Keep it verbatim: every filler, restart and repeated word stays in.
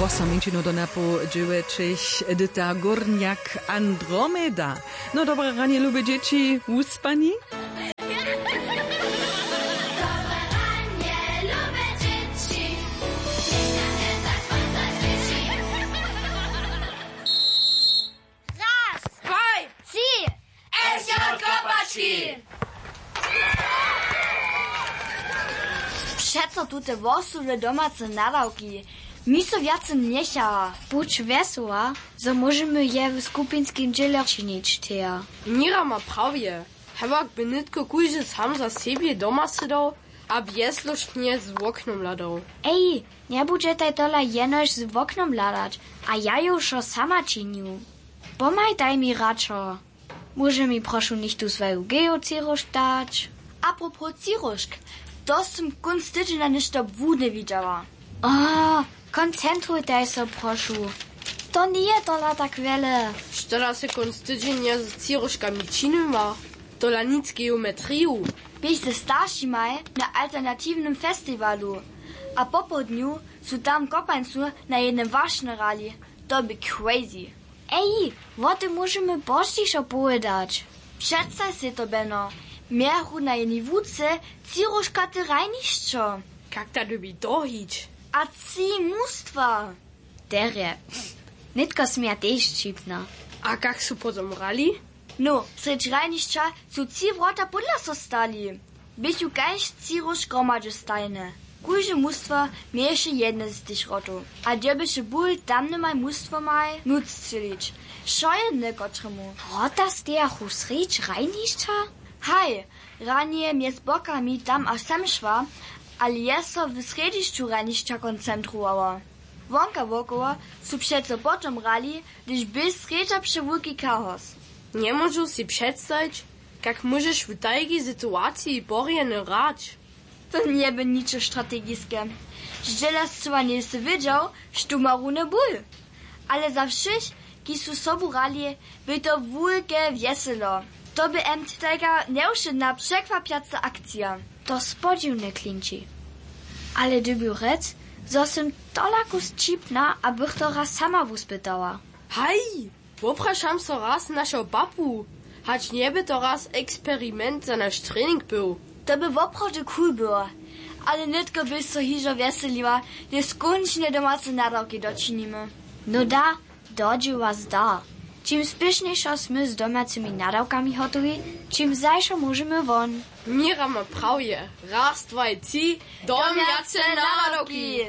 Wosom minčinu do napoł dźewjećich, Edyta Górniak, Andromeda. No dobre ranje, lube dźěći, wuspani? Raz, dwaj, tři! S J Kopački! Přeco tute wosudne domace nadawki mi so wjace njechaja. Budź wjesoła, zo móžemy je w skupinskim dźěle činić, Thea. Mira ma prawje. Hewak by nětko kóždy sam za sebje doma sydał a bjezložnje z woknom hladał. Ej, njebudźetaj tola jenož z woknom hladać, a ja ju wšo sama činju. Pomhajtaj mi radšo. Móže mi prošu něchtó swóju geocyróžk dać? Apropos cyróžk, to sym kónc tydźenja něšto błudne widźała. A, koncentrujtaj so, prošu. To njeje tola tak wjele. Što da sy kónc tydźenja z cyróžkami činiła? Tola nic geometriju. Běch ze staršimaj na alternatiwnym festiwalu a popołdnju su tam w Kopańcu na jednym wašnje hrali. To bě crazy. Ej, wo tym móžemy pozdźišo powědać. Předstaj sej to, Beno. Mějachu na jednej łuce tři róžkate hrajnišćo. Kak da dyrbi to hić? A tři mustwa. Derje. Nětko směja tež ćipna. A kak su potom hrali? No, srjedź hrajnišća su tři wrota pódla so stali. Běchu kaž tři róž hromadźe stajne. Kóžde mustwo měješe jedne z tych wrotow a dyrbješe bul tamnymaj mustwomaj nóc strzělić. Wšo jedne kotremu. Wrota stejachu srjedź hrajnišća? Haj, ranje mjez bokami tam a sem šła, ale je so w srjedźišću hrajnišća koncentrowała. Wonka wokoło su přeco potom hrali, hdyž bě srjedźa přewulki chaos. Njemóžu sej předstajić, kak móžeš w tajkej situaciji porjeny hrać. To njebě ničo strategiske. Zdźěla scyła njejsy wědźał, štó ma runje bul. Ale za wšěch, kiž su sobu hrali, bě to wulke wjeselo. To bě jem tajka njewšědna překwapjaca akcija. To spodźiwne klinči. Ale dyrbju rjec, zo sym tolaku sćipna a bych to raz sama wuspytała. Haj, woprašam so raz našeho papu, hač njebě to raz eksperiment za naš trening był. To bě woprawdźe cool było. Ale nětko běch so hižo wjeseliła, hdyž skónčnje domace nadawki dočinimy. No da, do dźěła zdar. Čim spěšnjejšo smy z domjacymi nadawkami hotowi, čim zašo móžemy won. Mira ma prawje. Raz, dwaj, tři. Domjace nadawki.